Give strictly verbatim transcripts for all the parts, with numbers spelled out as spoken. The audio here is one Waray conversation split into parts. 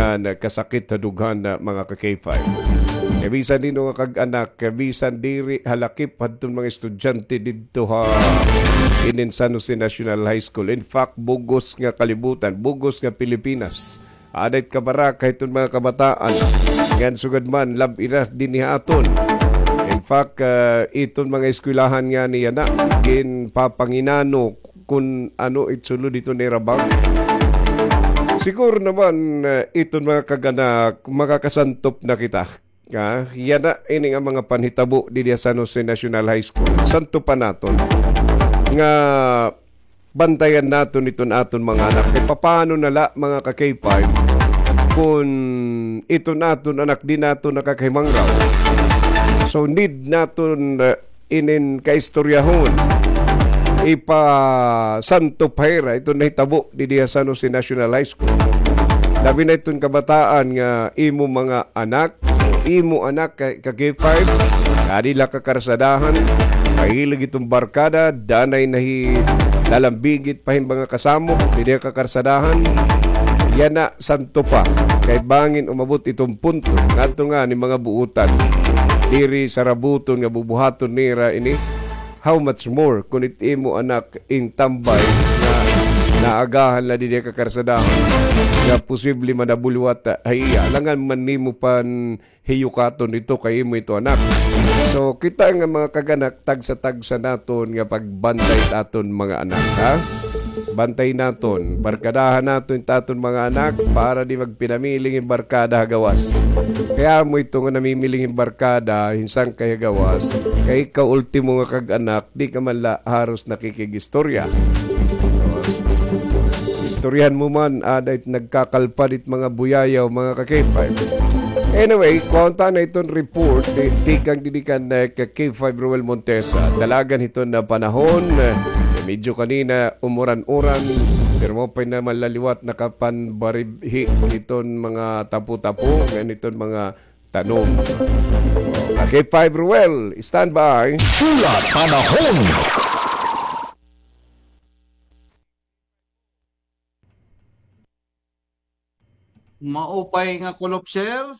nga kasakit ha dughan, mga ka-K five. Kay bisan hin-o nga kag-anak, kay bisan diri halakip hadton mga estudyante didto ha inin San Jose National High School. In fact, bug-os nga kalibutan, bug-os nga Pilipinas. Aada it kabaraka hiton mga kabataan. Ngan sugad man, lab-i na dinhi ha aton. In fact, ah, iton mga eskwelahan ngani yana, ginpapanginano kun ano it sulod hiton ira bag. Siguro naman, ah, iton mga kag-anak, makakasantop na kita. Ah, yana ini nga mga panhitabo didi ha San Jose National High School. Santopan naton nga bantayan naton iton aton mga anak. Kay papaano na la, mga ka-K five, kun iton aton anak di naton nakakahimangraw? So, need naton, uh, inin kaistoryahon. Ipasantop ha ira iton nahitabo didi ha San Jose National High School. Labi na iton kabataan nga imo mga anak, imo anak ka, ka-K five, adi la ka karsadahan, mahilig iton barkada, danay nahi-, nalambigit pa hin mga kasamo, didi ka karsadahan, yana santopa, kay bangin umabot iton punto, ngadto ngani mga buotan, diri sarabuton nga bubuhaton nira ini, how much more kun it imo anak in tambay nga naagahan la didi ka karsadahan, nga posible manabuliwat ha iya. Alangan man nimo pan hiyukaton ito kay imo ito anak. So, kita nga mga kag-anak, tagsa-tagsa naton nga pagbantay it aton mga anak, ha? Bantay naton, barkadahan naton it aton mga anak para di magpinamiling hin barkada ha gawas. Kay amo ito nga namimiling hin barkada, hin sangkay ha gawas. Kay ikaw, ultimo nga kag-anak, di ka man la haros nakikig-istorya. Istoryahan mo man, aada it nagkakalpad it mga buyayaw, mga ka-K five. Anyway, kuha unta na iton report, ti-, tikang didi kan, eh, ka-K five Roel Montesa. Dalagan hiton nga panahon, eh, medyo kanina umuran-uran, pero mao pa naman la liwat nakapanbaribhi hiton mga tapo-tapo, ngan hiton mga tanom. Ka-K five Roel, standby. Pula Panahon. Maupay nga kulop, sir.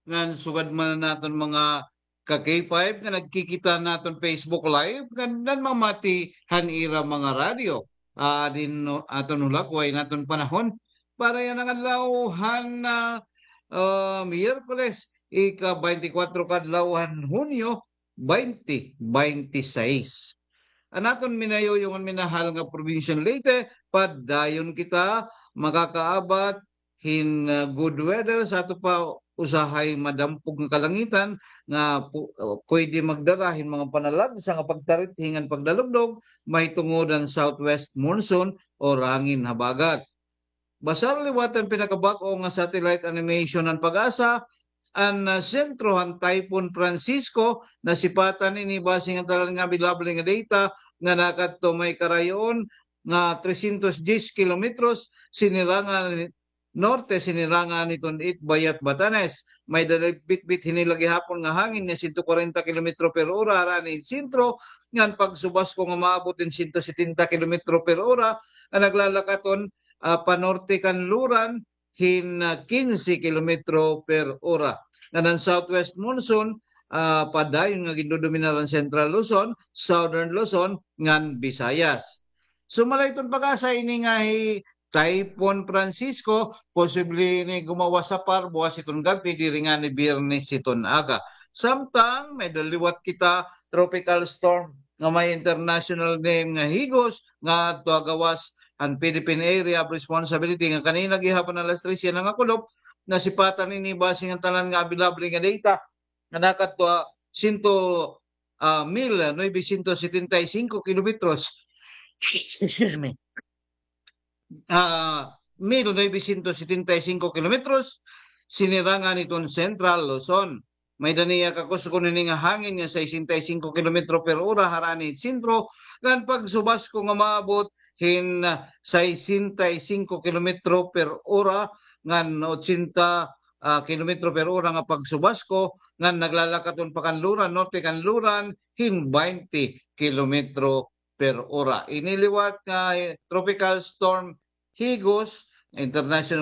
Ngan sugad man naton mga ka-K five nga nagkikita naton Facebook Live, ngan nanmamati han ira mga radyo. Ah, din no, aton hulagway naton panahon para yana nga adlaw han, ah, ah, Miyerkules, ika-baynte kwatro ka adlaw han Hunyo, baynte baynte sais. An aton minayuyong ngan minahal nga probinsya han Leyte, padayon kita makakaabat hin, ah, good weather sa ato pa usahay madampog nga kalangitan nga pu-, ah, pwede magdara hin mga panalagsa nga pagtarithi ngan pagdalugdog, mahitungod han southwest monsoon o hangin habagat. Basar liwat han pinakabag-o nga satellite animation han PAGASA, an, ah, sentro han Typhoon Francisco, nasipatan ini base ngan tanan nga available nga data nga nakadto may karayo-on nga trescientos diyes kilometros sinirangan norte, sinirangan hiton Itbayat, Batanes. May-ada bitbit hini la gihapon nga hangin nga sento kwarenta kilometro per ora harani hin sentro, ngan pagsubasko nga maabot hin sento setenta kilometro per ora, nga naglalakat-on, ah, panorte kan Luran hin, ah, kinse kilometro per ora. Ngan an southwest monsoon, ah, padayon nga gindodominar an Central Luzon, Southern Luzon, ngan Visayas. Sumala hiton PAGASA ini nga hi Typhoon Francisco, posible ini gumawas ha PAR buwas hiton gab-i, diri ngani Biyernes hiton aga. Samtang may-ada liwat kita Tropical Storm nga may international name nga Higos nga adto ha gawas han Philippine Area of Responsibility nga kanina gihapon alas tres yana nga kulop, nasipatan ini base ngan tanan nga available nga data nga nakadto ha sento, ah, mil novecientos setenta y cinco kilometros. Excuse me. Ah, mil novecientos setenta y cinco kilometros, sinirangan hiton Central Luzon. May-ada niya kakusgon hini nga hangin nga sesenta y cinco kilometro per ora harani hin sentro, ngan pagsubasko nga maabot hin, ah, sesenta y cinco kilometro per ora, ngan ochenta, ah, kilometro per ora nga pagsubasko, ngan naglalakat-on pa kan Luran, norte kan Luran, hin baynte kilometro per ora. Ini liwat nga, eh, Tropical Storm Higos, international